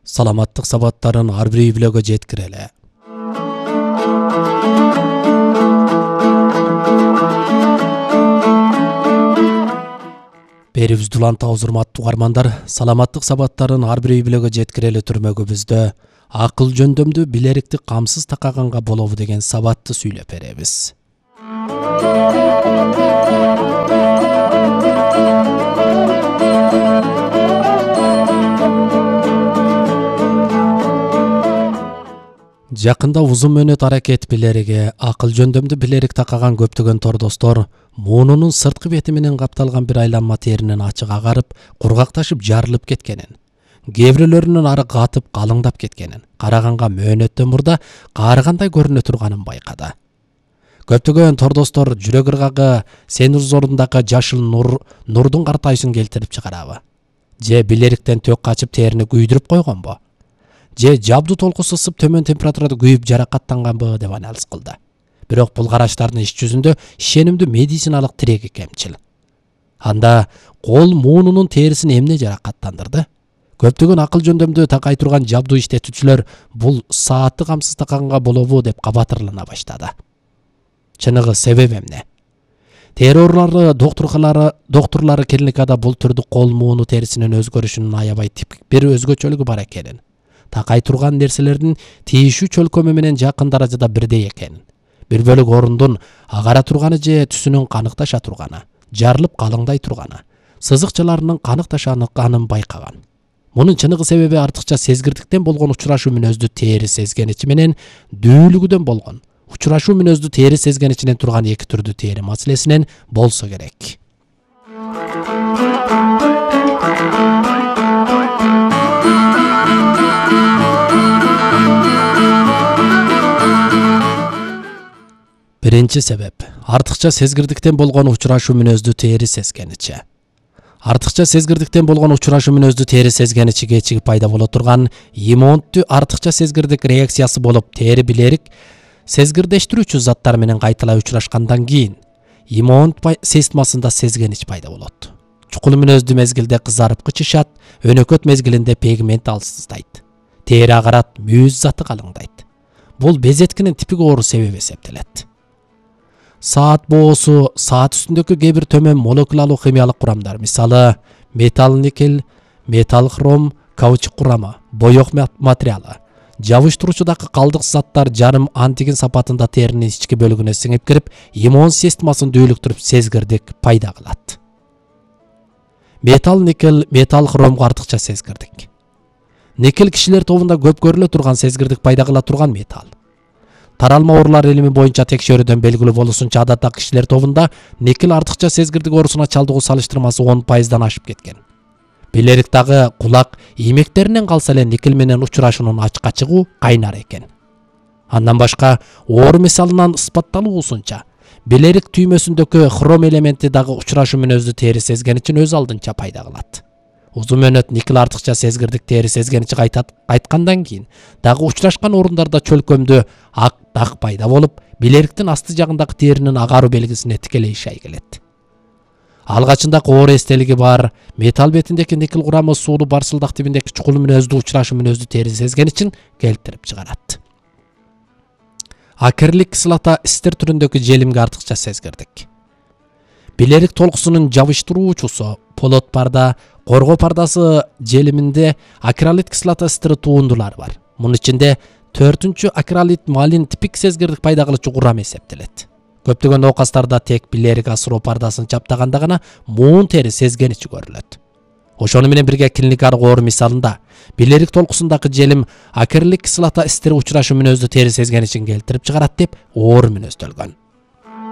саламаттык сабаттарын ар бир үй-бүлөгө жеткирели. Берибиз дуланта урматтуу угармандар, саламаттык сабаттарын ар бир үй-бүлөгө жеткирели түрмөгүбүздө акыл жөндөмдү билерикти камсыз такаганга болобу деген сабатты сүйлөп беребиз. Жакында узун мөөнөт аракет билериге акыл жөндөмдү билерик такаган көптөгөн тордостор муунунун сырткы бети менен капталган бир айланма теринин ачык агарып, кургакташып жарылып кеткенин, кээ бирөөлөрүнүн ары катып калыңдап кеткенин, караганга мөөнөттөн мурда каарыгандай көрүнө турганын байкады. Көптөгөн тордостор жүрөк ыргагы сен зорундагы жашыл нурдун картайышын келтирип чыгарабы? Же билериктен тök качып терини күйдүрүп койгонбу? Же жабдуу толку сысып төмөн температурада күйүп жаракаттанганбы деп анализ кылды. Бирок бул караштардын иш жүзүндө ишенимдүү медициналык тиреги кемчил. Анда кол муунунун терисин эмне жаракаттандырды? Көптөгөн акыл жөндөмдү такай турган жабдуу иштетүүчүлөр бул саатты камсыз такаганга болобу деп кабатырлана баштады. Чыныгы себеп эмне? Тери оорулары доктурлары клиникада бул түрдүү кол мууну терисинин өзгөрүшүнүн аябай типик бир өзгөчөлүгү бар экенин, такай турган нерселердин тийишүү чөлкөмү менен жакын даражада бирдей экенин, бир бөлүк орундун агара турганы же түсүнүн каныкташа турганы, жарылып калыңдай турганы, сызыкчаларынын каныкташанын байкаган. Мунун чыныгы себеби артыкча сезгирдиктен болгон учурашуу мүнөздүү тери сезгеничи менен дүүлүгүдөн болгон учурашуу мүнөздүү тери сезгеничинен турган эки түрдүү тери маселесинен болсо керек. Биринчи себеп — артыкча сезгирдиктен болгон учурашуу мүнөздүү тери сезгеничи. Артыкча сезгирдиктен болгон учурашуу мүнөздүү тери сезгеничи кечиги пайда боло турган иммунттуу артыкча сезгирдик реакциясы болуп, тери билерик сезгирдештирүүчү заттар менен кайталай учурашкандан кийин иммунт системасында сезгенич пайда болот. Чукул мүнөздүү мезгилде кызарып кычышат, өнөкөт мезгилинде пигмент алсыздайт. Тери агарат, мүйүз заты калыңдайт. Бул безеткинин типик оору себеби эсептелет. Саат боосу, саат үстүндөгү кээ бир төмөн молекулалуу химиялык курамдар, мисалы металл никель, металл хром, каучук курамы, боек материалы, жабыштыруучудагы калдык заттар жарым антиген сапатында теринин ички бөлүгүнө сиңип кирип, иммун системасын дүүлүктүрүп сезгирдик пайда кылат. Металл никель, металл хромго артыкча сезгирдик. Никель кишилер тобунда көп көрүлө турган сезгирдик пайда кыла турган металл. Таралма оорулар илими боюнча текшерүүдөн белгилүү болушунча адаттагы кишилер тобунда никель артыкча сезгирдик оорусуна чалдыгуу салыштырмасы 10%дан ашып кеткен. Билерик дагы кулак иймектеринен калса эле никель менен учурашуунун ачыкка чыгуу кайнар экен. Андан башка оору мисалынан ысбатталуусунча билерик түймөсүндөгү хром элементи дагы учурашуу мүнөздүү тери сезгеничин өз алдынча пайда кылат. Узун мөөнөт никель артыкча сезгирдик тери сезгеничи кайткандан кийин дагы учурашкан орундарда чөлкөмдүү ак дак пайда болуп, билериктин асты жагындагы теринин агаруу белгисине тикелей ишай келет. Алгачында оору эстелиги бар, металл бетиндеги никель курамы суулуу барсылдак тибиндеги чукул мүнөздүү учурашуу мүнөздүү тери сезгеничин келтирип чыгарат. Акрилик кислота эстер түрүндөгү желимге артыкча сезгирдик. Билерик толкусунун жабыштыруучусу полот парда, коргоо пардасы желиминде акрилит кислота эстери туундулары бар. Мунун ичинде 4-чү акрилит малин типик сезгирдик пайда кылуучу курам эсептелет. Көптөгөн оокастарда тек билерик асыроо пардасын чаптаганда гана муун тери сезгеничи көрүлөт. Ошону менен бирге клиникалык оору мисалында билерик толкусундагы желим акрилик кислота эстери учурашуу мүнөздүү тери сезгеничин келтирип чыгарат деп оору мүнөздөлгөн.